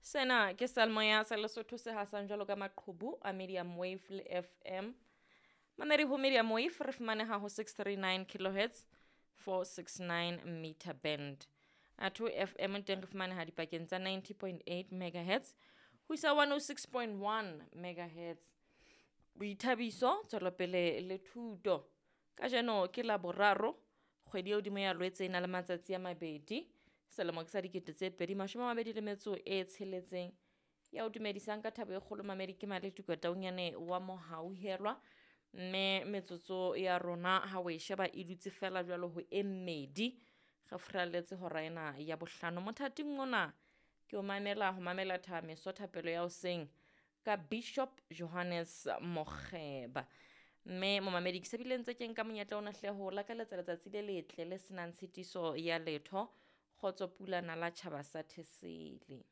Sena ke seyalemoya sa Lesotho se hasang jwalo ka maqhubu a medium wave le FM. Mamedi ho medium wave re fumaneha ho 639 kilohertz 469 meter band. Atho FM teng re fumaneha dipakeng tsa 90.8 megahertz ho isa 106.1 megahertz. Boithabiso, tswelopele le thuto. Kajeno ke la boraro kgwedi e hodimo ya Lwetse e na le matsatsi a mabedi. Selemo ke sa 2026. Ya o dumedisang ka thabo e kgolo mamedi ke Maletuka Taunyane wa Mohauhelwa. Mme metsotso ya rona ha o e sheba e dutse fela jwalo ho e mmedi. Re furalletse hora ena ya bohlano. Mothating ona ke o mamela ho mamela thameso thapelo ya hoseng ka Bishop Johannes Mokgeba. Mme momamedi ke sebile ntse ke nka monyetla ona hle ho lakaletsa letsatsi le letle le senang tshitiso ya letho. Kgotso pula nala tjhaba sa Thesele.